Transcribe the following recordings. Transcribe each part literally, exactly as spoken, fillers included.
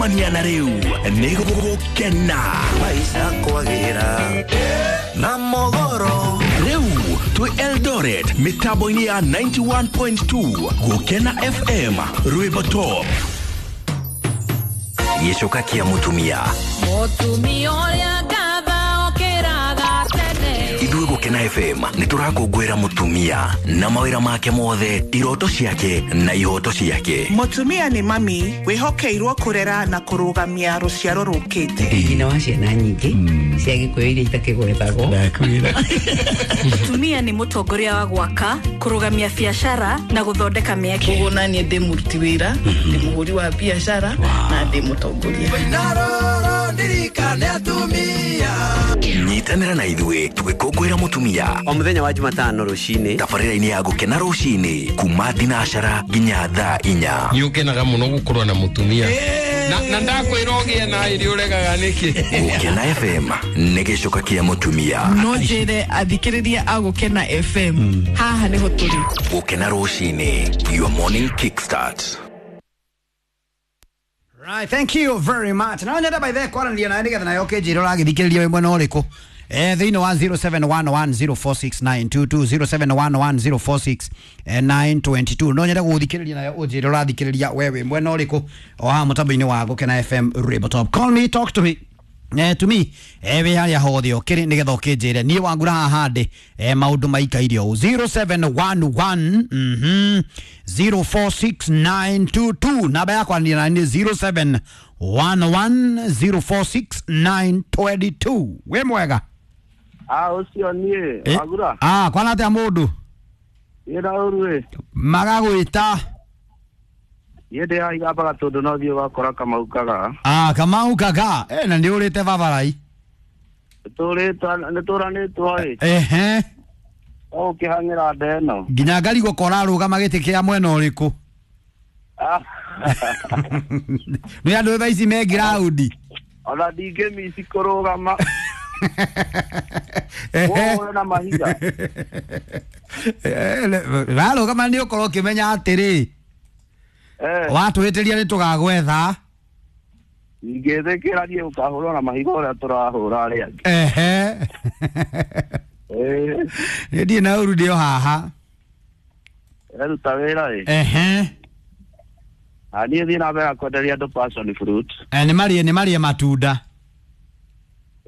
Gũcemania na rĩu nĩ gũgũkena. Maisha kwagĩra na mogoro. Rĩu twĩ Eldoret mĩtambo-inĩ ya ninety-one point two Gũkena F M Rwĩmbo Top. Gĩcoka kĩa mũtumia. Mũtumia ũrĩa ngatha okĩraga tene. Ithuĩ Gũkena F M nĩ tũrakũngũĩra mũtumia na mawĩra make mothe, iroto ciake na ihoto ciake. Mũtumia nĩ mami wĩhokeirwo kũrera na kũrũgamia rũciaro rũkĩte. Nyina wa ciana nyingĩ cia Gĩkũyũ iria itakĩgwetagwo. Ndakwĩra. Mũtumia nĩ mũtongoria wa gwaka, kũrũgamia biacara na gũthondeka mĩeke. Koguo na niĩ ndĩ mũruti wĩra, ndĩ mũhũri wa biacara na ndĩ mũtongoria. Nyitanĩra na ithuĩ tũgĩkũngũĩra mũtumia o mũthenya wa Jumatano rũcinĩ, tabarĩra-inĩ ya Gũkena rũcinĩ kuma thinacara nginya thaa inya. Nĩ ũkenaga mũno gũkorwo na mũtumia. Na, na ndakwĩra ũgĩe na ĩrĩ ũregaga nĩkĩ? Gũkena F M nĩ gĩcoka kĩa mũtumia. No njĩre athikĩrĩria a Gũkena F M haha nĩho tũrĩ. Gũkena rũcinĩ, your morning kickstart. Right, thank you very much. Na nyenda by the kwaranĩria nawe nĩgetha nayo ũkĩnjĩra ũragĩthikĩrĩria wĩ mwena ũrĩkũ. Eh, thĩinĩ wa zero seven one one zero four six nine two two, zero seven one one zero four six nine two two. No nyende gũgũthikĩrĩria nayo ũnjĩre ũrathikĩrĩria we wĩ mwena ũrĩkũ o haha mũtambo-inĩ wa Gũkena F M Rwĩmbo Top. Call me, talk to me. Eh, to me, eh, wĩ harĩa hothe ũkĩrĩ nĩgetha ũkĩnjĩre niĩ wangura haha ndĩ, eh, maũndũ maikaire ũũ. zero seven one one, mhm, zero four six nine two two. Namba yakwa nĩ nĩ zero seven one one zero four six nine two two. Wĩ mwega? Ah, ũcio niĩ, Wangura. Ah, kwana atĩa mũndũ? Niĩ na ũru ĩ. Magagwĩta. Niĩ ndĩ haha igambaga tondũ no thiĩ ũgakora Kamau Kagaa. Ah, Kamau Kagaa. Eh, na nĩ ũrĩte babarai. Nĩtũrĩtwo, nĩtũranĩtwo ĩ. Ehe. O ũkĩhang'ĩra nda ĩno. Nginya ngarigwo ko ũrarũgama gĩtĩ kĩa mwena ũrĩkũ. Ah. Nĩ andũ thaa ici me ground. Ona ndingĩmici kũrũgama. Ehe. Ũhũre na mahiga. Eh, warũgama nĩ ũkorwo ũkĩmenya atĩrĩ. Eh. Watũhĩtĩria nĩ tũgagwetha. Ingĩthĩkĩra niĩ ũkahũrwo na mahiga ũrĩa tũrahũra arĩa angĩ. Ehe. Eh. Niĩ ndirĩ na ũru ndĩ o haha. Eruta wĩra ĩ. Ehe. Na niĩ thiĩ na mbere na kwenderia andũ passion fruit. Eh, nĩ marĩe, nĩ marĩe matunda.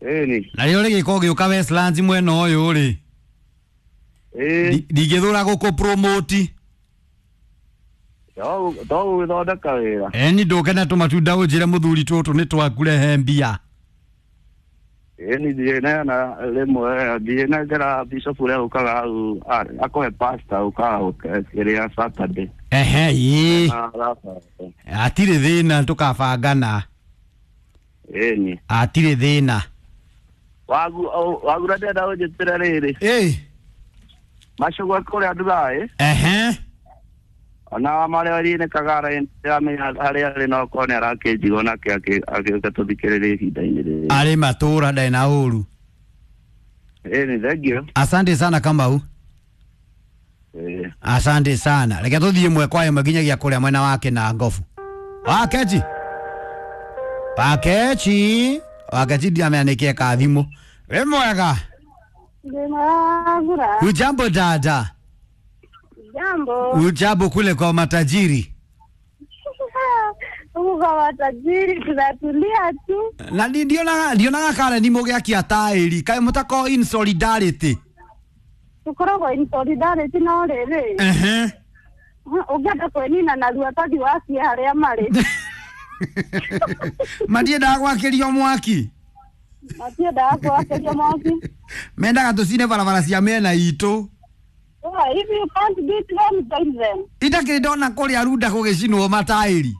Ĩni. Na rĩrĩa ũrĩgĩka ũgĩũka Westlands mwena ũyũ rĩ. Ĩ. Ndingĩthũra gũkũ promote. To gũgĩthondeka wĩra. Eni ndũke na tũmatunda ũnjĩre mũthuri tũtũ nĩ twakũrehe mbia. Ĩni thiĩ neana rĩmwe, thiĩ nengera bishop ũrĩa ũkaga hau, akũhe pastor ũkaga kĩrĩa Saturday. Ehe, ĩ. Na Rafa. Hatirĩ thĩna tũkabangana. Ĩni. Hatirĩ thĩna. Wagu, wagura ndĩrenda ũnjĩtĩre rĩrĩ. Ĩ. Macungwa kũrĩa Dubai. Ehe. Ona marĩa ri-inĩ Kagara ndĩramenya harĩa arĩ no okorwo nĩ arakĩnjigua nake agĩũka tũthikĩrĩrie ihinda-inĩ rĩrĩ. Arĩ matũra ndarĩ na ũru. Ĩni, thengiũ. Asante sana Kamau. Ĩ. Asante sana. Reke tũthiĩ ĩmwe kwa ĩmwe nginyagia kũrĩa mwena wake na ngobu. Wakechi. Wakechi. Wakechi ndiramenya nĩkĩ eka thimũ. Wĩ mwega? Ndĩ mwega. Hujambo dada? Jambo. Hujambo kule kwa matajiri? Huku kwa matajiri tunatulia tu. Na ndionaga, ndionaga kare ni mũgĩakia taĩri. Kaĩ mũtakoragwo in solidarity? Tũkoragwo in solidarity no rĩrĩ. Ehe. Ũngĩenda kwĩnina narua tondũ wakie harĩa marĩ. Matiendaga gwakĩrio mwaki? Matiendaga gwakĩrio mwaki. Mendaga tũcine barabara cia mĩena itũ. Yeah, if you can't beat them, join them. Itakĩrĩ ndona kũrĩa Runda gũgĩcinwo mataĩri.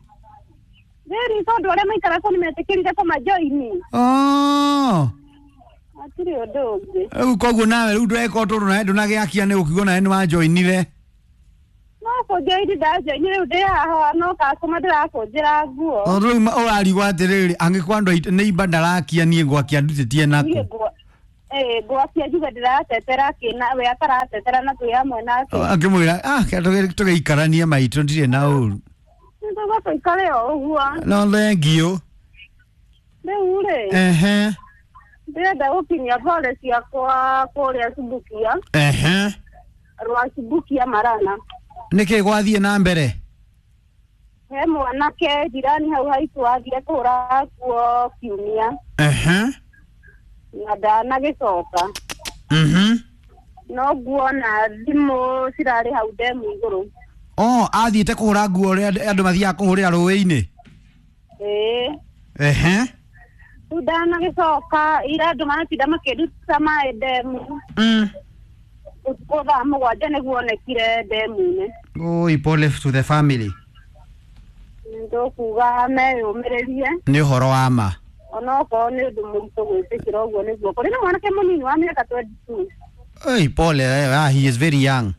Rĩrĩ tondũ arĩa maikara kũu nĩmetĩkĩrire kũmajoini. Oh. Hatirĩ ũndũ ũngĩ. Rĩu koguo nawe rĩu ndweka ũndũ nawe ndũnagĩakia nĩ ũkiuga nawe nĩwajoinire. No kũnjoini ndajoini rĩu ndĩ haha no customer ndĩrakũnjĩra nguo. Tondũ rĩu ũrarigwo atĩrĩrĩ angĩkorwo andũ aitũ nĩ imba ndarakia niĩ ngwakia ndutĩtie nakũ. Niĩ ngwa- eh, ngwakia njuge ndĩratetera kĩna we ataratetera na twĩ hamwe nake. Akĩmwĩra ah tũgĩikaranie maitũ ndirĩ na ũru. Nĩtũgũka tũikare o ũguo. No thengiũ. Rĩu rĩ, Ehe. ndĩrenda gũkinyia pole ciakwa kũrĩa Subukia, Ehe. rwa Subukia Marana. Nĩkĩ gwathiĩ na mbere? He mwanake jirani hau haitũ athire kũhũra nguo kiumia Ehe. na ndanagĩcoka. Mhm. No nguona thimũ cirarĩ hau ndemu igũrũ. Oh, athiĩte kũhũra nguo ũrĩa andũ mathiaga kũhũrĩra rũĩ-inĩ. Ĩĩ. Ehe. Rĩu ndanagĩcoka ira andũ maratinda makĩruta maĩ ndemu. Mm. Ũtukũ thaa mũgwanja nĩguo onekire ndemu-inĩ. Oi, pole to the family. Ndũkuga meyũmĩrĩrie Nĩ ũhoro wa ma. onokorwo nĩ ũndũ mũritũ gwĩtĩkĩra ũguo nĩguo kũrĩ na mwanake mũnini wa mĩaka twenty two. Oi, pole, eh, ah, he is very young.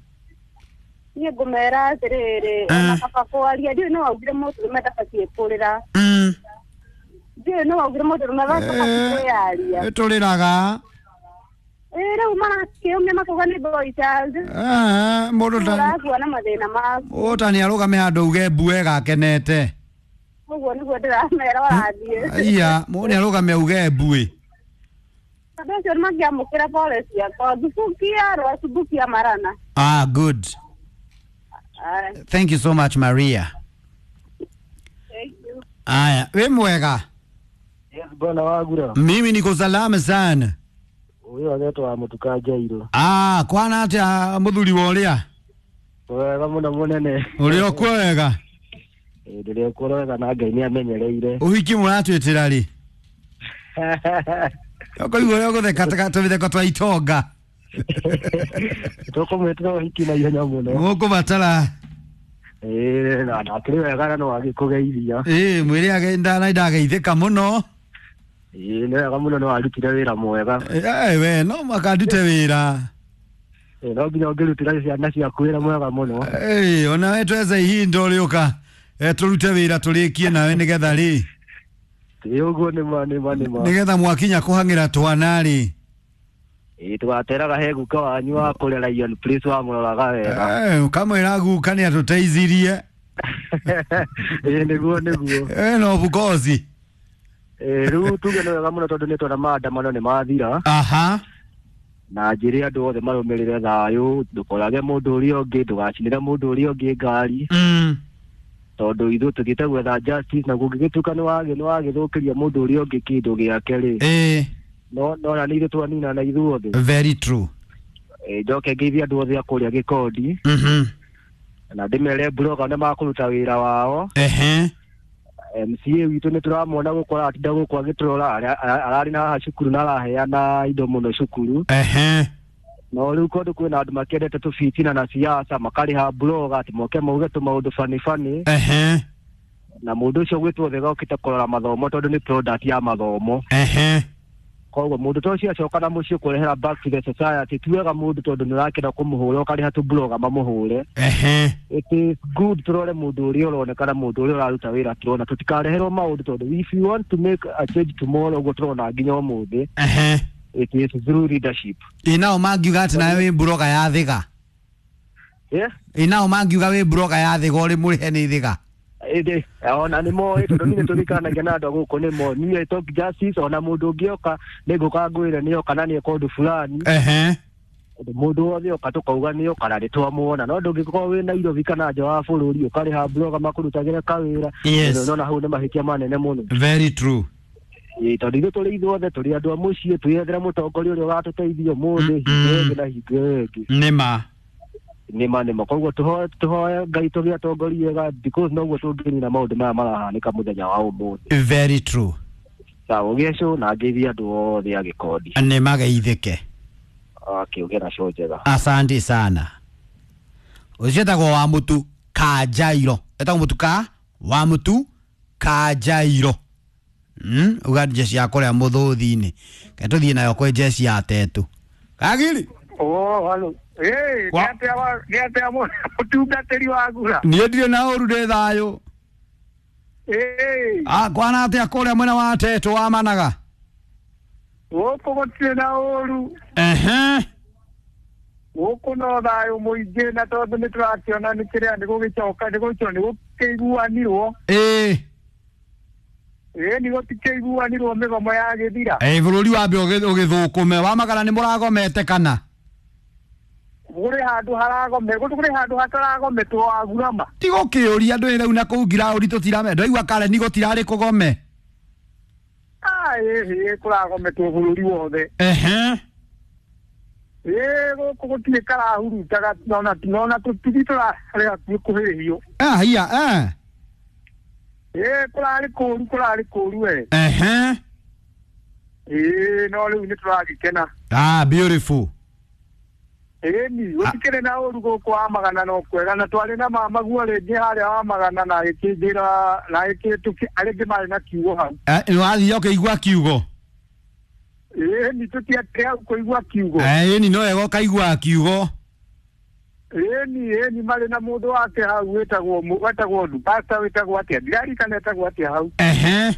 Niĩ ngũmera atĩrĩrĩ, ona kaba kwaria ndiũĩ nĩ waugire mũndũrũme ndabatiĩ kũrĩra. Mm. Ndiũĩ nĩ waugire mũndũrũme ndabatiĩ kwĩyaria. Tũrĩraga. Ĩĩ rĩu marakĩũmia makauga nĩ boy child. Ah, mũndũ ta Ũrakua na mathĩna maku. ũta nĩ arũgame handũ uge mbue gakenete. Ũguo nĩguo ndĩramera warathiĩ. Iya, mũndũ nĩ arũgame uge mbue. Andũ acio nĩ mangĩamũkĩra pole ciakwa. Thubukia rwa Thubukia Marana. Ah, good. Aye. Thank you so much, Maria. Thank you. Aya, we mwega. Yes, bwana wagura. Mimi niko salama sana. Uyu agetwo wa Mutuka Jairo. Ah, kwana atia muthuri wa uria? Wega muno munene. Uri okuo wega? Ĩ ndĩrĩ okuo wega na Ngai nĩ amenyereire. Ũhiki mũratwĩtĩra rĩ? Ũkaigua ũrĩa ũgũtheka tũmĩtheko twa itonga. Tũkũmwĩtĩra ũhiki na ihenya mũno. Mũkũbatara. Ĩ na ndakĩrĩ wega na no agĩkũgeithia. Ĩ mwĩre age ndana ndageithĩka mũno. Ĩ nĩ wega mũno nĩ warutire wĩra mwega. Eh we no mũhaka ndute wĩra. Ĩ no nginya ũngĩrutĩra ciana ciaku wĩra mwega mũno. Ĩ ona we twethe ihinda ũrĩũka tũrute wĩra tũrĩkie nawe nĩgetha rĩ. Ĩ ũguo nĩ ma nĩ ma nĩ ma. Nĩgetha mwakinya kũhang'ĩra twana rĩ. Ĩ tũgateraga he guka wanyu wa kũrĩa Lion Place wamũroraga wega. Eh ũkamwĩra guka nĩ atũteithirie. Ĩ nĩguo nĩguo. Eh no of course. Ĩ rĩu tuge nĩ wega mũno tondũ nĩ twona maandamano nĩ mathira. Aha. Na njĩre andũ othe marũmĩrĩre thayũ, ndũkorage mũndũ ũrĩa ũngĩ, ndũgacinĩre mũndũ ũrĩa ũngĩ ngari. Mm. Tondũ ithuĩ tũthiĩte gwetha justice na kũngĩgĩtuĩka nĩ wagĩ nĩ wagĩthũkĩria mũndũ ũrĩa ũngĩ kĩndũ gĩake rĩ. Ĩ. No no na nĩ ithuĩ twanina na ithuothe. Very true. Ĩ njoke ngeithie andũ othe a kũrĩa Gĩkondi. Mhm. Na ndĩmere blogger nĩ makũruta wĩra wao. Ehe. M C A witũ nĩ tũramwona gũkũ aratinda gũkũ agĩtũrora ararĩ na haha cukuru na araheana indo mũno cukuru. Ehe. No rĩu kũndũ kwĩna andũ makĩendete tũbitina na siasa makarĩha blogger atĩ moke mauge tũmaũndũ bani bani. Ehe. Na mũndũ ũcio gwĩtwo Thega okĩte kũrora mathomo tondũ nĩ product ya mathomo. Ehe. Koguo mũndũ ta ũcio acoka na mũciĩ kũrehera back to the society ti wega mũndũ tondũ nĩ ũrakĩenda kũmũhũra ũkarĩha tũ blogger mamũhũre. Ehe. It is good tũrore mũndũ ũrĩa ũronekana mũndũ ũrĩa ũraruta wĩra tũrona tũtikareherwo maũndũ tondũ if you want to make a change tomorrow ũguo tũrona nginya ũmũthĩ. Ehe. It is through leadership. Ĩ nao mangiuga atĩ nawe wĩ blogger ya Thĩga. Yeah? Ĩ nao mangiuga wĩ blogger ya Thĩga ũrĩ mũrĩhe nĩ Thĩga. Ĩndĩ ona nĩ moĩ tondũ niĩ nĩtũrikanagia na andũ a gũkũ nĩ moĩ niĩ talk justice ona mũndũ ũngĩ oka nĩ ngũka ngwĩre nĩ oka na nĩ eka ũndũ fulani. Ehe. Mũndũ wothe oka tũkauga nĩ oka na nĩ twamuona no ndũngĩkorwo wĩ Nairobi kana nja wa bũrũri ũkarĩha blogger makũrutagĩre kawĩra. Yes. Nona hau nĩ mahĩtia manene mũno. Very true. Ĩ tondũ ithuĩ tũrĩ ithuothe tũrĩ andũ a mũciĩ twĩyethere mũtongoria ũrĩa ũgatũteithia ũmũthĩ hingo ĩngĩ na hingo ĩyo ĩngĩ. Nĩ ma. Nĩ ma nĩ ma koguo tũhoe tũhoe Ngai tũgĩe atongoria ega because noguo tũngĩnina maũndũ maya marahanĩka mũthenya wa ũmũthĩ. Very true. Sawa ũgĩe show na ngeithie andũ othe a Gĩkondi. Nĩ mageithĩke. Okay, ũgĩe na show njega. Asante sana. Ũcio etagwo wa Mũtu Kajairo. Etagwo Mũtu ka wa Mũtu Kajairo. Mm, uga jeshi ya kũrĩa mũthũthi-inĩ. Ke tũthiĩ nayo kwĩ jeshi ya Tetu. Kagiri. Oh, halo. Eh, Wa- nĩ atĩa wa nĩ atĩa mũtungatĩri wa ngura? Niĩ ndirĩ na ũru ndĩ thayũ. Eh, Ah, kwana atĩa kũrĩa mwena wa Tetu wa Managa? gũkũ gũtirĩ na ũru. Ehe. Gũkũ no thayũ mũingĩ na tondũ nĩ tũrakĩona nĩ kĩrĩa nĩ gũgĩcoka nĩ gũcoka nĩ gũkĩiguanirwo. Ĩ. Ĩĩ ni gũtikĩiguanirwo mĩgomo yagĩthira. Ĩ bũrũri wambe ũgĩthũkũme wa magana nĩ mũragomete kana? Kũrĩ handũ haragome, kũrĩ handũ hataragometwo wagurama. Ti gũkĩũria andũ rĩu na kũu ngiraũri tũtirame. Ndaigua Karen gũtirarĩ kũgome. Ah, ĩĩ kũragometwo bũrũri wothe. Ehe. Ĩĩ gũkũ gũtirĩ karahurutaga nona nona tũtiri tũrarĩ hakuhĩ kũhĩhio. Ah, hiya, eh. Ĩĩ kũrarĩ kũũru kũrarĩ kũũru we. Ehe. Ĩĩ no rĩu nĩ tũragĩkena. Ah, beautiful. Ĩĩ ni gũtikĩrĩ na ũru gũkũ wa magana no kwega na twarĩ na mama guo rĩngĩ harĩa wa magana na ĩkĩnjĩra na ĩkĩtũki arĩngĩ marĩ na kiugo hau. Eh, nĩ wathiĩ ũkĩigua kiugo? Ĩĩ ni tũtiatĩ hau kũigua kiugo. Eh, ni no wega ũkaigua kiugo. Ĩĩ ni ĩĩ ni marĩ na mũndũ wake hau wĩtagwo wĩtagwo pastor wĩtagwo atĩa ndirarikana etagwo atĩa hau. Ehe.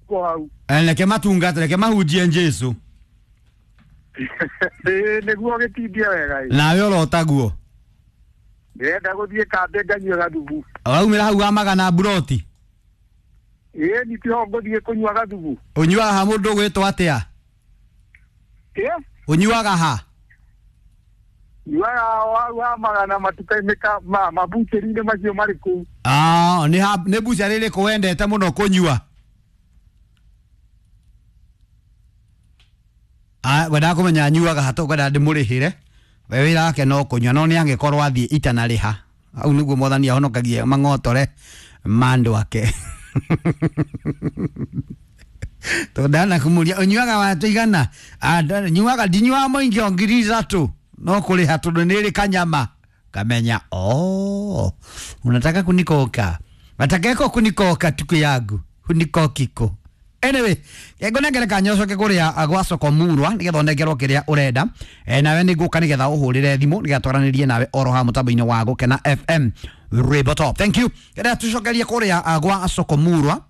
Ko hau. Eh, reke matungate reke mahunjie Jesũ. Ĩĩ nĩguo gĩtindie wega ĩ. Nawe ũrotaguo. Ndĩrenda gũthiĩ kambĩ nganyue gathubu. Waumĩra hau wa magana mburoti? Ĩĩ ni tiho ngũthiĩ kũnyua gathubu. Ũnyuaga ha mũndũ ũgwĩtwo atĩa? Ĩ? Ũnyuaga ha? Nyuaga hau wa magana matuka-inĩ ka ma mabucheri-inĩ macio marĩ kũu. Ah, nĩ ha nĩ bucheri ĩrĩkũ wendete mũno kũnyua? Ah, ngwendaga kũmenya anyuaga ha tũkwenda ndĩmũrĩhĩre. We wĩra wake no kũnyua no nĩ angĩkorwo athiĩ itanarĩha. Hau nĩguo mwathani ahonokagie mang'otore ma andũ ake. Tondana kumuria ũnyuaga wa tũigana? Ah, nyuaga ndinyuaga mũingĩ o ngiri ithatũ. No kũrĩha tondũ nĩ ĩrĩ kanyama. Kamenya, oh, unataka kunikoka. Watakeko kunikoka tuku yangu. Hunikokiko. Anyway, ngunengere kanya ũcoke kũrĩa gwa soko murwa nĩgetha ũnengerwo kĩrĩa ũrenda. Eh, nawe nĩ ngũka nĩgetha ũhũrĩre thimũ nĩgetha twaranĩrie nawe oro ha mũtambo-inĩ wa Gũkena F M Rwĩmbo Top. Thank you. Kĩrĩa tũcokerie kũrĩa gwa soko murwa.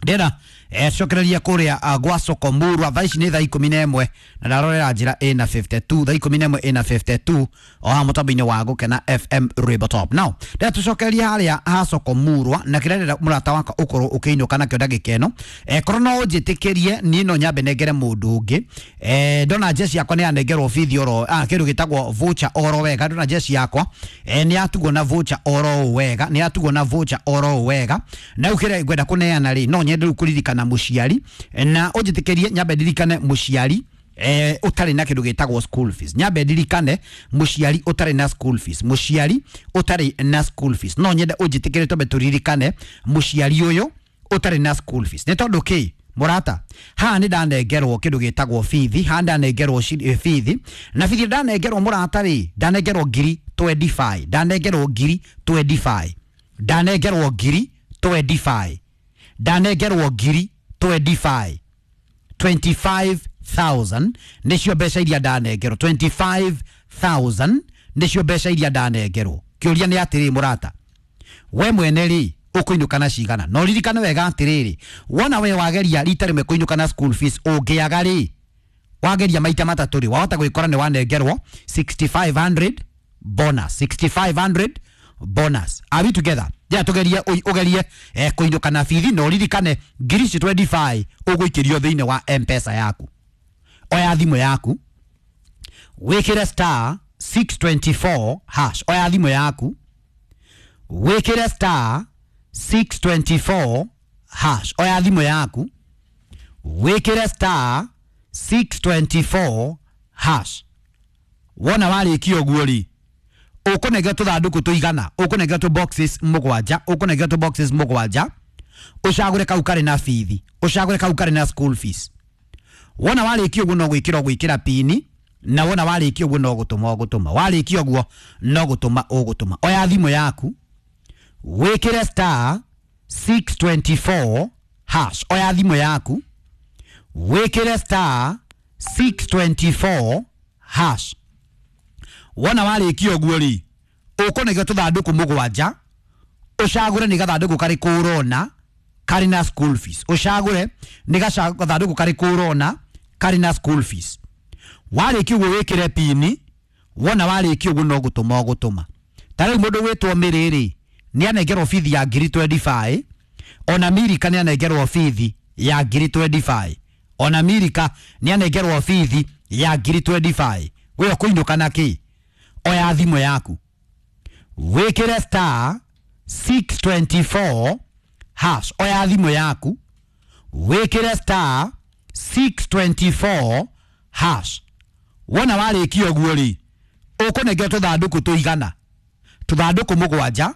Ndĩrenda eh cokereria kũrĩa gwa soko murwa thaa ici nĩ thaa ikũmi na ĩmwe na ndarorera njĩra ĩna fifty two thaa ikũmi na ĩmwe ĩna fifty two o ha mũtambo-inĩ wa Gũkena F M Rwĩmbo Top. Now ndĩrenda tũcokererie harĩa ha soko murwa na kĩrĩa ndĩrenda mũrata wakwa ũkorwo ũkĩinũka nakĩo ndagĩka ĩno. Eh korwo no ũnjĩtĩkĩrie niĩ no nyambe nengere mũndũ ũngĩ. Eh ndona jeci yakwa nĩ yanengerwo bithi oro ah kĩndũ gĩtagwo voucher oro wega. Ndona jeci yakwa eh nĩ yatugwo na voucher oro wega nĩ yatugwo na voucher oro wega na rĩu kĩrĩa ngwenda kũneana rĩ no nyende rĩu kũririkana mũciari na ũnjĩtĩkĩrie nyambe ndirikane mũciari eh ũtarĩ na kĩndũ gĩtagwo school fees. Nyambe ndirikane mũciari ũtarĩ na school fees mũciari ũtarĩ na school fees no nyende ũnjĩtĩkĩrie twambe tũririkane mũciari ũyũ ũtarĩ na school fees nĩ tondũ kĩ mũrata haha nĩ ndanengerwo kĩndũ gĩtagwo bithi haha ndanengerwo bithi na bithi ndanengerwo mũrata rĩ ndanengerwo ngiri twenty five ndanengerwo ngiri twenty five ndanengerwo ngiri twenty five ndanengerwo ngiri twenty five twenty five thousand nĩcio mbeca iria ndanengerwo twenty five thousand nĩcio mbeca iria ndanengerwo. Kĩũria nĩ atĩrĩ mũrata we mwene rĩ ũkũinũka na cigana? No ririkane wega atĩrĩrĩ wona we wageria rita rĩmwe kũinũka na school fees ũngĩaga rĩ wageria maita matatũ rĩ wahota gwĩkora nĩ wanengerwo sixty five hundred bonus sixty five hundred bonus. Are we together? Ja tugerie ugerie eh kuinũka na bithi no ririkane ngiri ici twenty five ũgũikĩrio thĩinĩ wa M-Pesa yaku. Oya thimũ yaku wĩkĩre star six twenty four hash. Oya thimũ yaku wĩkĩre star six twenty four hash. Oya thimũ yaku wĩkĩre star six twenty four hash. Wona warĩkia ũguo rĩ ũkũnengera tũthandũkũ tũigana ũkũnengera tũ boxes mũgwanja ũkũnengera tũ boxes mũgwanja ũcagũre kau karĩ na bithi ũcagũre kau karĩ na school fees. Wona warĩkia ũguo no gwĩkĩra ũgwĩkĩra pini na wona warĩkia ũguo no gũtũma ũgũtũma warĩkia ũguo no gũtũma ũgũtũma. Oya thimũ yaku wĩkĩre star six twenty four hash. Oya thimũ yaku wĩkĩre star six twenty four hash. Wona warĩkia ũguo rĩ ũkũnengera tũthandũkũ mũgwanja ũcagũre nĩ gathandũkũ karĩkũ ũrona karĩ na school fees ũcagũre nĩ gathandũkũ karĩkũ ũrona karĩ na school fees. Warĩkia ũguo wĩkĩre pini wona warĩkia ũguo no gũtũma ũgũtũma. Ta rĩu mũndũ wĩtwo Mĩrĩ rĩ nĩ anengerwo bithi ya ngiri twenty five Ona Milika nĩ anengerwo bithi ya ngiri mĩrongo ĩĩrĩ na ithano. Ona Milika nĩ anengerwo bithi ya ngiri mĩrongo ĩĩrĩ na ithano. We ũkũinũka na kĩ? Oya thimũ yaku, wĩkĩre star six two four hash. Oya thimũ yaku, wĩkĩre star six two four hash. Wona warĩkia ũguo rĩ, ũkũnengerwo tũthandũkũ tũigana tũthandũkũ mũgwanja.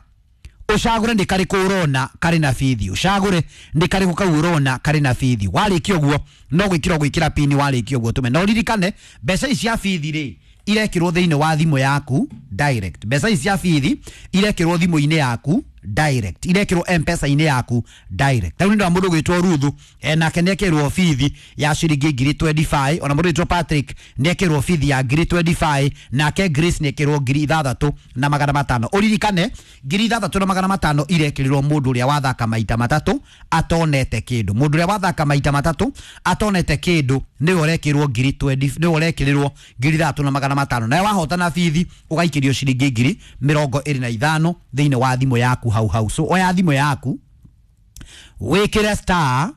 Ũcagũre nĩ karĩkũ ũrona karĩ na bithi. Ũcagũre nĩ karĩkũ kau ũrona karĩ na bithi. Warĩkia ũguo no gwĩkĩra gwĩkĩra pini. Warĩkia ũguo tũme na ũririkane mbeca ici cia bithi rĩ, irekĩrwo thĩinĩ wa thimũ yaku direct. Mbeca ici cia bithi irekĩrwo thimũ-inĩ yaku direct, irekĩrwo M-Pesa-inĩ yaku direct. Rĩu nĩ mũndũ gwĩtwo Ruthu, e, nake nĩekĩrwo bithi ya ciringi ngiri mĩrongo ĩĩrĩ na ithano. Ona mũndũ gwĩtwo Patrick nĩekĩrwo bithi ya ngiri mĩrongo ĩĩrĩ na ithano. Nake Grace nĩekĩrwo ngiri ithathatũ na magana matano. Ũririkane ngiri ithathatũ na magana matano irekĩrĩrwo mũndũ ũrĩa wathaka maita matatũ atonete kĩndũ. Mũndũ ũrĩa wathaka maita matatũ atonete kĩndũ nĩwe ũrekĩrwo ngiri mĩrongo ĩĩrĩ, nĩwe ũrekĩrĩrwo ngiri ithathatũ na magana matano. Nawe wahotana bithi ũgaikĩrio ciringi ngiri mĩrongo ĩrĩ na ithano thĩinĩ wa thimũ yaku hau hau. So oya thimũ yaku, wĩkĩre star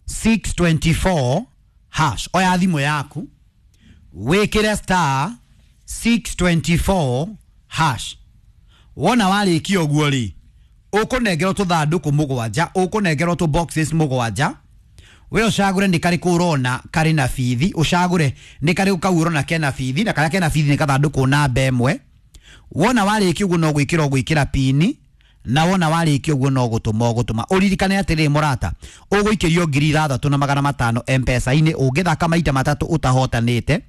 six two four hash. Oya thimũ yaku, wĩkĩre star six two four hash. Wona warĩkia ũguo rĩ, ũkũnengerwo tũthandũkũ mũgwanja, ũkũnengerwo tũ boxes mũgwanja. We ũcagũre nĩ karĩkũ ũrona karĩ na bithi. Ũcagũre nĩ karĩkũ kau ũrona kena bithi, na karĩa kena bithi nĩ kathandũkũ namba ĩmwe. Wona warĩkia ũguo no gwĩkĩra ũgwĩkĩra pini, na wona warĩkia ũguo no gũtũma ũgũtũma. Ũririkane atĩrĩ mũrata, ũgũikĩrio ngiri ithathatũ na magana matano M-Pesa-inĩ ũngĩthaka maita matatũ ũtahotanĩte.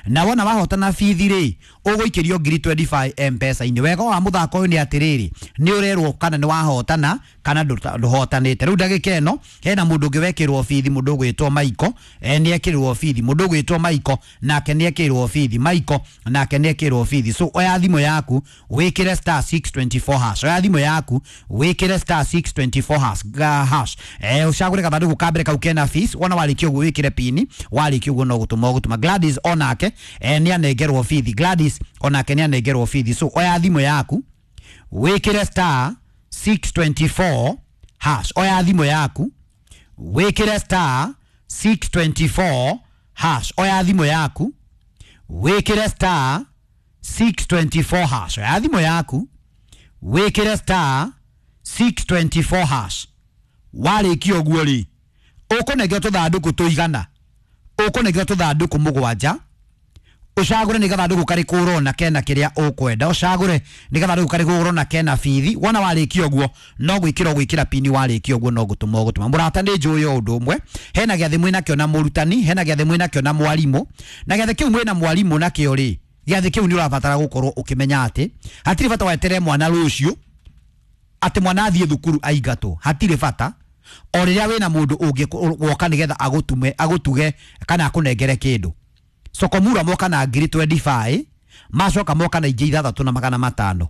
Na wona wahotana bithi rĩ, ũgũikĩrio ngiri mĩrongo ĩĩrĩ na ithano M-Pesa-inĩ. Wega wa mũthako ũyũ nĩ atĩrĩrĩ, nĩ ũrerwo kana nĩ wahotana kana ndũhotanĩte. Rĩu ndagĩka ĩno hena mũndũ ũngĩ wekĩrwo bithi, mũndũ ũgwĩtwo Maiko, e, nĩ ekĩrwo bithi. Mũndũ ũgwĩtwo Maiko nake nĩ ekĩrwo bithi. Maiko nake nĩ ekĩrwo bithi. So oya thimũ yaku, wĩkĩre star six two four hash. Oya thimũ yaku, wĩkĩre star six two four hash ga hash. eh ũcagũre gathandũkũ ka mbere kau kena fees. Wona warĩkia ũguo wĩkĩre pini. Warĩkia ũguo no gũtũma ũgũtũma. Gladys onake eh, nĩ anengerwo bithi. Gladys onake nĩ anengerwo bithi. So oya thimũ yaku, wĩkĩre star six two four hash. Oya thimũ yaku, wĩkĩre star six two four hash. Oya thimũ yaku, wĩkĩre star six two four hash. Oya thimũ yaku, wĩkĩre star six two four hash. Warĩkia ũguo rĩ, ũkũnengerwo tũthandũkũ tũigana ũkũnengerwo tũthandũkũ mũgwanja. Ũcagũre nĩ gathandũkũ karĩkũ ũrona kena kĩrĩa ũkwenda. Ũcagũre nĩ gathandũkũ karĩkũ ũrona kena bithi. Wona warĩkia ũguo no gwĩkĩra ũgwĩkĩra pini. Warĩkia ũguo no gũtũma ũgũtũma. Mũrata, nĩ njũĩ o ũndũ ũmwe, hena gĩathĩ mwĩnakĩo na mũrutani, hena gĩathĩ mwĩnakĩo na mwarimũ. Na gĩathĩ kĩu mwĩna mwarimũ nakĩo rĩ, gĩathĩ kĩu nĩ ũrabatara gũkorwo ũkĩmenya atĩ hatirĩ bata wetere mwana rũciũ atĩ mwana athiĩ thukuru aingatwo. Hatirĩ bata. O rĩrĩa wĩna mũndũ ũngĩ woka nĩgetha agũtume, agũtuge kana akũnengere kĩndũ. Sokomura moka na ngiri mĩrongo ĩĩrĩ na ithano, macoka moka na ingĩ ithathatũ na magana matano.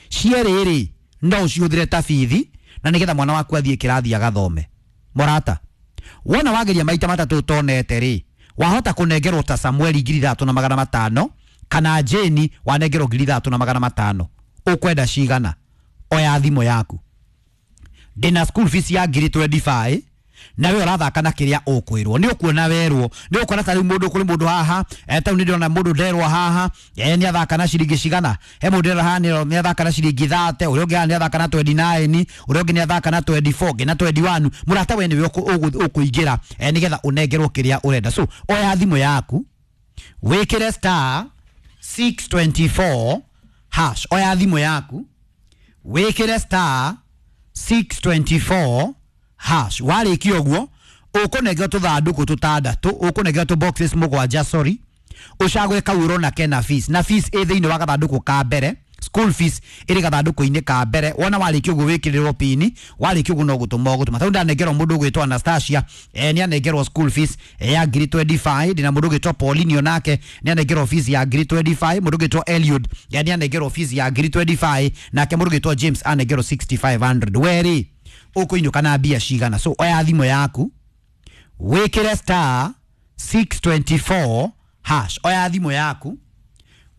Cierĩ rĩ, no ũcihũthĩre ta bithi na nĩgetha mwana waku athiĩ kĩrathi agathome. Mũrata, wona wageria maita matatũ ũtonete rĩ, wahota kũnengerwo ta Samueli ngiri ithathatũ na magana matano kana Jane wanengerwo ngiri ithathatũ na magana matano. Ũkwenda cigana? Oya thimũ yaku. Ndĩna school fees ya ngiri mĩrongo ĩĩrĩ na ithano, nawe ũrathaka na kĩrĩa ũkwĩrwo. Nĩ ũkuona werwo, nĩ ũkuona ta rĩu mũndũ, kũrĩ mũndũ haha, eh, ta rĩu nĩ ndĩrona mũndũ nderwo haha, eh, nĩ athaka na ciringi cigana. He mũndũ nderwo haha nĩ athaka na ciringi thirty, ũrĩa ũngĩ haha nĩ athaka na twenty-nine, ũrĩa ũngĩ nĩ athaka na twenty-four, ũngĩ na twenty-one. Mũrata, we nĩwe ũkũingĩra, eh, nĩgetha ũnengerwo kĩrĩa ũrenda. So oya thimũ yaku, wĩkĩre star six two four hash. Oya thimũ yaku, wĩkĩre star six two four hash. Warĩkia ũguo ũkũnengerwo tũthandũkũ tũtandatũ, ũkũnengerwo tũ boxes mũgwanja, sorry. Ũcagũre kau ũrona kena fees, na fees ĩ thĩinĩ wa gathandũkũ ka mbere. School fees ĩrĩ gathandũkũ-inĩ ka mbere. Wona warĩkia ũguo wĩkĩrĩrwo pini. Warĩkia ũguo no gũtũma ũgũtũma. Tondũ ndanengerwo mũndũ ũgwĩtwo Anastasia, eh, nĩ anengerwo school fees, eh, ya ngiri mĩrongo ĩĩrĩ na ithano. Ndĩna mũndũ ũgwĩtwo Pauline, onake nĩ anengerwo fees ya ngiri mĩrongo ĩĩrĩ na ithano. Mũndũ ũgwĩtwo Eliud, eh, nĩ anengerwo fees ya ngiri mĩrongo ĩĩrĩ na ithano. Nake mũndũ ũgwĩtwo James anengerwo six thousand five hundred. We rĩ, ũkũinũka na mbia cigana? So oya thimũ yaku, wĩkĩre star six two four hash. Oya thimũ yaku,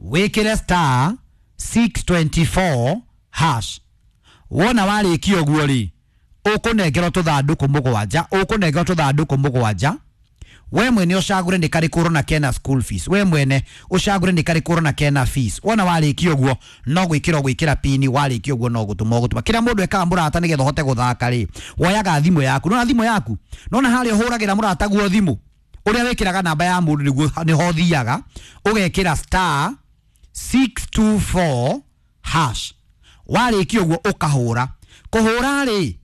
wĩkĩre star six two four hash. Wona warĩkia ũguo rĩ, Ũkũnengerwo tũthandũkũ mũgwanja, ũkũnengerwo tũthandũkũ mũgwanja. We mwene ũcagũre nĩ karĩkũ ũrona kena school fees, we mwene ũcagũre nĩ karĩkũ ũrona kena fees. Wona warĩkia ũguo no gwĩkĩra ũgwĩkĩra pini, warĩkia ũguo no gũtũma ũgũtũma. Kĩrĩa mũndũ ekaga mũrata nĩgetha ũhote gũthaka rĩ, woyaga thimũ yaku, nona thimũ yaku, nona harĩa ũhũragĩra mũrata guo thimũ, ũrĩa wĩkĩraga namba ya mũndũ nĩguo nĩho ũthiaga, ũgekĩra star six two four hash. Warĩkia ũguo ũkahũra. Kũhũra rĩ,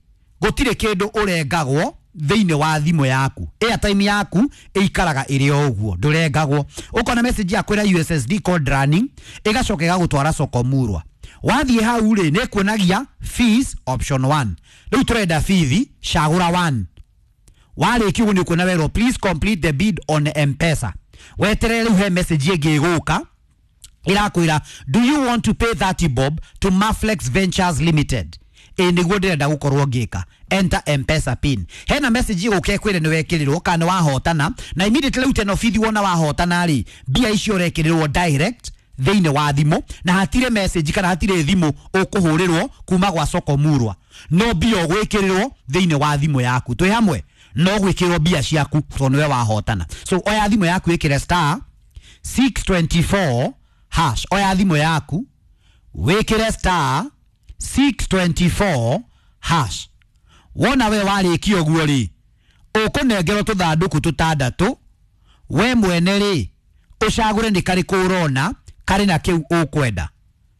gũtirĩ kĩndũ ũrengagwo thĩinĩ wa thimũ yaku. Airtime yaku ĩikaraga ĩrĩ o ũguo, ndũrengagwo. Ũkona message ya kwĩra U S S D code running, ĩgacoka ĩgagũtwara soko murwa. Wathiĩ hau rĩ, nĩ ĩkuonagia fees option one. Rĩu tũrenda fees, cagũra one. Warĩkia ũguo nĩ ũkuona werwo please complete the bid on M-Pesa. Weterere rĩu he message ĩngĩ ĩgũka ĩrakwĩra do you want to pay thirty bob to Maflex Ventures Limited? Ĩ nĩguo ndĩrenda gũkorwo ngĩka. Enter M-Pesa pin. Hena message ĩgũka ĩkwĩre nĩ wekĩrĩrwo kana nĩ wahotana, na immediately rĩu teno bithi wona wahotana rĩ, mbia icio ũrekĩrĩrwo direct thĩinĩ wa thimũ, na hatirĩ message kana hatirĩ thimũ ũkũhũrĩrwo kuma gwa soko murwa, no mbia ũgwĩkĩrĩrwo thĩinĩ wa thimũ yaku. Twĩ hamwe, no gwĩkĩrwo mbia ciaku tondũ nĩwe wahotana. So oya thimũ yaku ĩkĩre star six twenty four hash. Oya thimũ yaku wĩkĩre star six twenty four hash. Wona we warĩkia ũguo rĩ, ũkũnengerwo tũthandũkũ tũtandatũ. We mwene rĩ, ũcagũre nĩ karĩkũ ũrona karĩ na kĩu ũkwenda,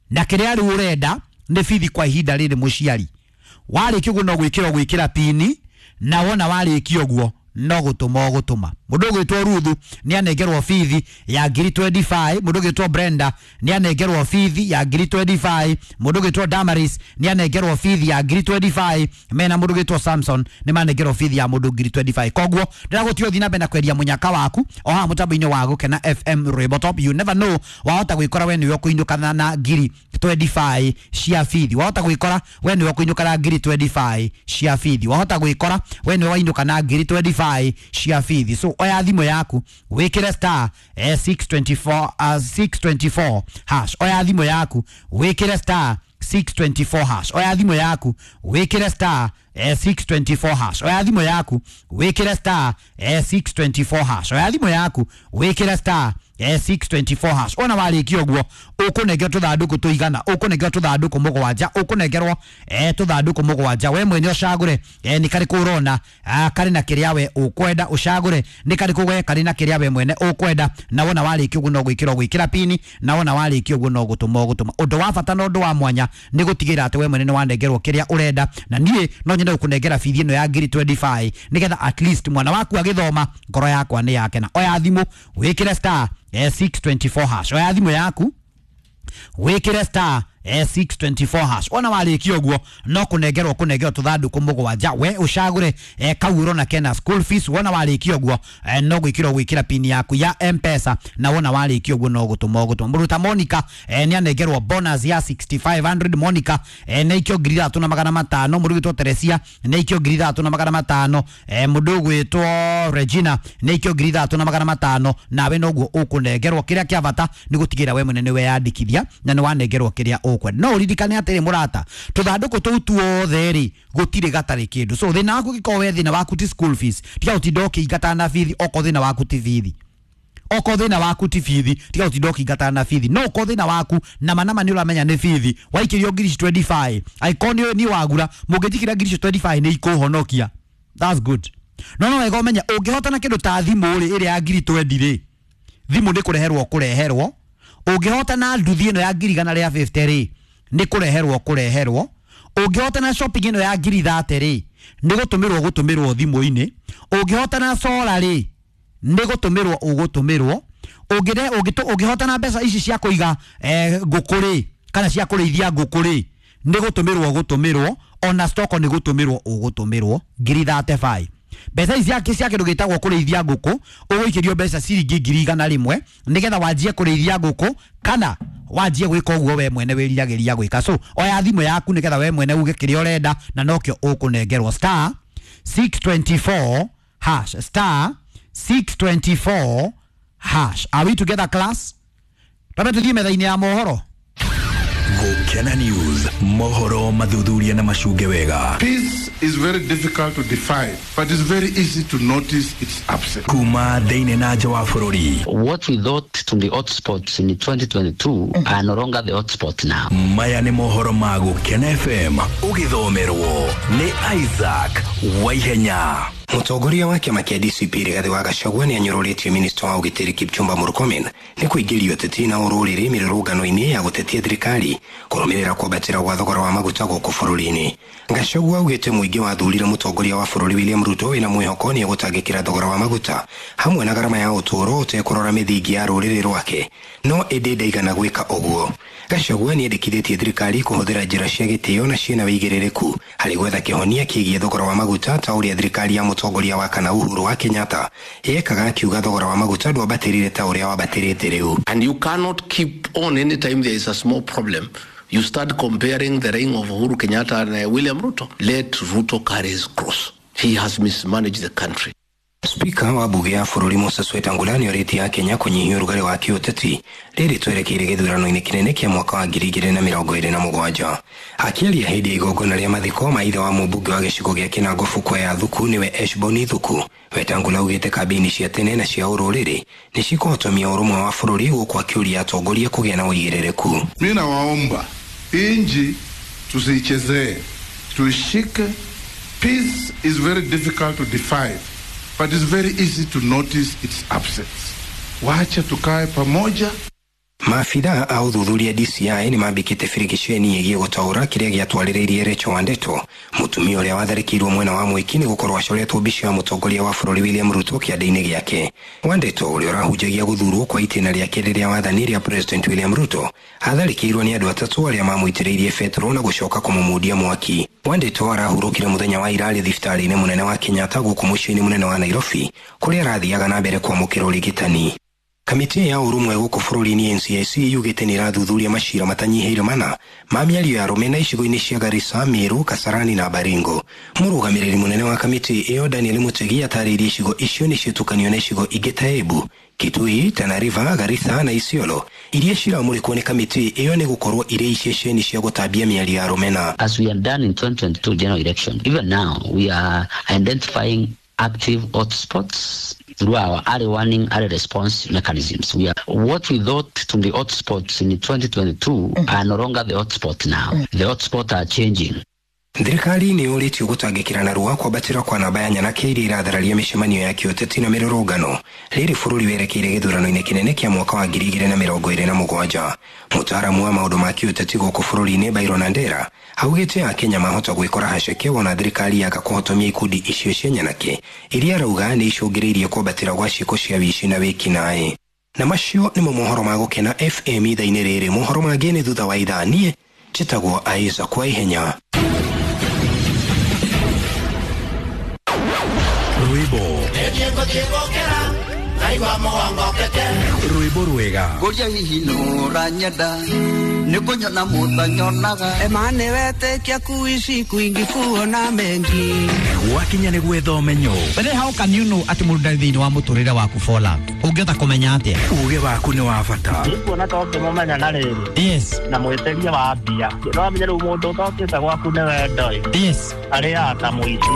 na kĩrĩa rĩu ũrenda nĩ bithi kwa ihinda rĩrĩ mũciari. Warĩkia ũguo no gwĩkĩra ũgwĩkĩra pini, na wona warĩkia ũguo no gũtũma ũgũtũma. Mũndũ ũgwĩtwo Ruthu nĩ anengerwo bithi ya ngiri twenty five, mũndũ ũgwĩtwo Brenda nĩ anengerwo bithi ya ngiri twenty five, mũndũ ũgwĩtwo Damaris nĩ anengerwo bithi ya ngiri twenty five, mena mũndũ ũgwĩtwo Samson nĩ manengerwo bithi ya mũndũ ngiri twenty five. Koguo ndĩragũtia ũthiĩ na mbere na kwendia mũnyaka waku o haha mũtambo-inĩ wa Gũkena F M Rwĩmbo Top. You never know, wahota gwĩkora we nĩwe ũkũinũkana na ngiri twenty five cia bithi, wahota gwĩkora we nĩwe ũkũinũka na ngiri twenty five cia bithi, wahota gwĩkora we nĩwe wainũka na ngiri twenty five cia bithi. So oya thimũ yaku wĩkĩre star six twenty four uh, six twenty four hash. Oya thimũ yaku wĩkĩre star six twenty four hash. Oya thimũ yaku wĩkĩre star six twenty four hash. Oya thimũ yaku wĩkĩre star six twenty four hash. Oya thimũ yaku wĩkĩre star six twenty four hash. Ona warĩkia ũguo ũkũnengerwo tũthandũkũ tũigana, ũkũnengerwo tũthandũkũ mũgwanja, ũkũnengerwo eh tũthandũkũ mũgwanja. We mwene ũcagũre eh nĩ karĩkũ ũrona karĩ na kĩrĩa we ũkwenda, ũcagũre nĩ karĩkũ we karĩ na kĩrĩa we mwene ũkwenda, na wona warĩkia ũguo no gwĩkĩra ũgwĩkĩra pini, na wona warĩkia ũguo no gũtũma ũgũtũma. Ũndũ wa bata na ũndũ wa mwanya nĩ gũtigĩrĩra atĩ we mwene nĩ wanengerwo kĩrĩa ũrenda, na niĩ no nyende gũkũnengera bithi ĩno ya ngiri twenty five nĩgetha at least mwana waku agĩthoma ngoro yakwa nĩ yakena. Oya thimũ wĩkĩre star six twenty four hash. Oya thimũ yaku wĩkĩre star six twenty four hash. Ona warĩkia ũguo no kũnengerwo kũnengerwo tũthandũkũ mũgwanja, we ũcagũre kau ũrona kena school fees. Wona warĩkia ũguo no gwĩkĩra gwĩkĩra pini yaku ya M-Pesa, na wona warĩkia ũguo no gũtũma ũgũtũma. Mũndũ ta Monica nĩ anengerwo bonus ya sixty five hundred. Monica nĩ aikio ngiri ithatũ na magana matano. Mũndũ ũgwĩtwo Teresia nĩ aikio ngiri ithatũ na magana matano. Mũndũ ũgwĩtwo Regina nĩ aikio ngiri ithatũ na magana matano. Nawe noguo ũkũnengerwo. Kĩrĩa kĩa bata nĩ gũtigĩrĩra we mwene nĩ weyandĩkithia na nĩ wanengerwo kĩrĩa ũkwenda. No ũririkane atĩrĩ mũrata, tũthandũkũ tũu tuothe rĩ gũtirĩ gatarĩ kĩndũ. So thĩna waku ũngĩkorwo we thĩna waku ti school fees, tiga gũtinda ũkĩingata na bithi okorwo thĩna waku ti bithi, okorwo thĩna waku ti bithi tiga gũtinda ũkĩingata na bithi. No okorwo thĩna waku nama nama nĩ ũramenya nĩ bithi, waikĩrio ngiri ici twenty five, angĩkorwo nĩ nĩ wagura mũngĩnjikĩra ngiri icio twenty five nĩ ikũhonokia, that's good. No no wega ũmenye ũngĩhotana kĩndũ ta thimũ rĩ ĩrĩa ya ngiri twenty rĩ, thimũ nĩ kũreherwo kũreherwo. Ũngĩhotana nduthi ĩno ya ngiri igana rĩa fifty rĩ, nĩ kũreherwo kũreherwo. Ũngĩhotana shopping ĩno ya ngiri thirty rĩ, nĩ gũtũmĩrwo gũtũmĩrwo thimũ-inĩ. Ũngĩhotana solar rĩ, nĩ gũtũmĩrwo ũgũtũmĩrwo. Ũngĩre ũngĩhotana mbeca ici cia kũiga eh, ngũkũ rĩ, kana cia kũrĩithia ngũkũ rĩ, nĩ gũtũmĩrwo gũtũmĩrwo. Ona stock nĩ gũtũmĩrwo ũgũtũmĩrwo ngiri thirty five. Mbeca ici cia cia kĩndũ gĩtagwo kũrĩithia ngũkũ, ũgũikĩrio mbeca ciringi ngiri igana rĩmwe nĩgetha wanjie kũrĩithia ngũkũ kana wanjie gwĩka ũguo we mwene wĩriragĩria gwĩka. So oya thimũ yaku nĩgetha we mwene uge kĩrĩa ũrenda, na nokĩo ũkũnengerwo star six twenty four hash, star six twenty four hash. Are we together class? Twambe tuthiĩ metha-inĩ ya mohoro. Gũkena Gukena News, mohoro mathuthuria na macunge wega. Peace is very difficult to define, but it's very easy to notice its absence. Kuma thĩinĩ na nja wa bũrũri. What we thought to be hotspots in twenty twenty-two are no longer the hotspot now. Maya nĩ mohoro ma Gukena F M ũgĩthomerwo nĩ Isaac Waihenya. Mũtongoria wa kĩama kĩa D C P Rigathĩ wa Gachagua nĩ anyũrũrĩtie minista wa ũgitĩri Kipchumba Murkomen nĩ kũingĩria ũteti na ũrũrĩrĩ mĩrũrũngano-inĩ ya gũtetia thirikari kũrũmĩrĩra kwambatĩra gwa thogora wa maguta gũkũ bũrũri-inĩ. Gachagua augĩte mũingĩ wathurire mũtongoria wa bũrũri William Ruto wĩna mwĩhoko nĩ egũtangĩkĩra thogora wa maguta hamwe na garama ya ũtũũro ũtekũrora mĩthingi ya rũrĩrĩ rwake, no ĩndĩ ndaigana gwĩka ũguo. Gachagua nĩ endekithĩtie thirikari kũhũthĩra njĩra cia gĩtĩo na ciĩna wĩigĩrĩrĩku harĩ gwetha kĩhonia kĩgiĩ thogora wa maguta ta ũrĩa thirikari ya mũtongoria wa kana Uhuru wa Kenyatta yekaga, akiuga thogora wa maguta ndwambatĩrire ta ũrĩa wambatĩrĩte rĩu. And you cannot keep on anytime there is a small problem. You start comparing the reign of Uhuru Kenyatta and uh, William Ruto. Let Ruto carry his cross. He has mismanaged the country. Spika wa bunge ya bũrũri Moses Wetangula nĩorĩtie Akenya kũnyihia ũrugarĩ wa kĩũteti rĩrĩ twerekeire gĩthurano-inĩ kĩnene kĩa mwaka wa ngiri igĩrĩ na mĩrongo ĩrĩ na mũgwanja. Akĩaria hĩndĩ ya igongona rĩa mathiko ma ithe wa mũmbunge wa gĩcigo gĩa Kinango Fukwe ya Thuku nĩwe Eshbon Thuku, Wetangula augĩte kambĩini cia tene na cia ũrũrĩrĩ nĩ cikũhotomia ũrũmwe wa bũrũri gũkũ akĩũria atongoria kũgĩa na ũigĩrĩrĩku. Mimi nawaomba inji tusiichezee, tuishike. Peace is very difficult to define, but it's very easy to notice its absence. Wacha tukae pamoja. Maabithaa a ũthuthuria D C I nĩ mambĩkĩte birigiceni ĩgiĩ gũtaũra kĩrĩa gĩatwarĩrĩirie Rachel Wandeto, mũtumia ũrĩa watharĩkĩirwo mwena wa Mwĩki nĩ gũkorwo acoretwo mbica ya mũtongoria wa bũrũri William Ruto kĩande-inĩ gĩake. Wandeto ũrĩa ũrahunjagia gũthurwo kwa itĩna rĩake rĩrĩa wathani rĩa President William Ruto atharĩkĩirwo nĩ andũ atatũ arĩa mamũitĩrĩirie betũrũ na gũcoka kũmũmundia mwaki. Wandeto arahurũkire mũthenya wa ira arĩ thibitarĩ-inĩ mũnene wa Kenyatta gũkũ mũciĩ-inĩ mũnene wa Nairobi kũrĩa arathiaga na mbere kwamũkĩra ũrigitani. Kamĩtĩ ya ũrũmwe gũkũ bũrũri-inĩ N C I C yugĩte nĩ ĩrathuthuria macira matanyihĩire mana ma mĩario ya rũmena icigo-inĩ cia Garissa, Meru, Kasarani na Baringo. Mũrũgamĩrĩri mũnene wa kamĩtĩ ĩyo Daniel Mutegi atarĩirie icigo icio nĩ ciĩtũkanio na icigo ingĩ ta Embu, Kitui, Tana River, Garissa na Isiolo iria ciramũrĩkwo nĩ kamĩtĩ ĩyo nĩ gũkorwo irĩ iceceni cia gũtambia mĩario ya rũmena. As we have done in twenty twenty-two general election, even now we are identifying active hotspots through our early warning, early response mechanisms. We are what we thought to be hotspots in twenty twenty-two are no longer the hotspot now. The hotspots are changing. Thirikari nĩ yũrĩtio gũtangĩkĩra narua kwambatĩra kwa namba ya nyanake iria irathararia mĩcemanio ya kĩũteti na mĩrũrũngano rĩrĩ bũrũri werekeire gĩthurano-inĩ kĩnene kĩa mwaka wa ngiri igĩrĩ na mĩrongo ĩrĩ na mũgwanja. Mũtaaramu wa maũndũ ma kĩũteti gũkũ bũrũri-inĩ Byron Andera augĩte Akenya mahota gwĩkora haceke wona thirikari yaga kũhotomia ikundi icio cia nyanake iria arauga nĩ icũngĩrĩirie kwambatĩra gwa ciĩko cia wĩici na wĩkinaĩ. Na macio nĩmo mohoro ma Gũkena F M ithaa-inĩ rĩrĩ. Mohoro mangĩ nĩ thutha wa ithaa. Niĩ njĩtagwo Isaac Waihenya. Rwĩmbo rwĩmbo rwega ngũria hihi nũranyenda nĩ kũnyona mũtanyonaga emane wetĩkia kuici kwingi kuona mengi gwakinya nĩ gwetha ũmenyo. But how can you know atĩ mũndũ ndarĩ thĩinĩ wa mũtũrĩre waku for love? Ũngĩhota kũmenya atĩa? Uge waku nĩ wa bata. Nĩkuona ta ũngĩmũmenya na rĩrĩ. Yes. Na mwĩtĩria wa mbia. No amenye rĩu mũndũ ũtokĩte gwaku nĩ wendo ĩ. Yes. Arĩaga ta mũici.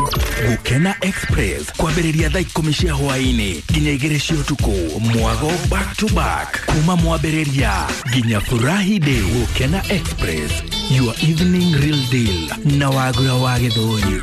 Gũkena Express kwambĩrĩria thaa ikũmi cia hwaĩ-inĩ nginya igĩrĩ cia ũtukũ, mwago back to back kuma mwambĩrĩria nginya furahi day. Gũkena Express, your evening real deal na Wagura wa Gĩthũri.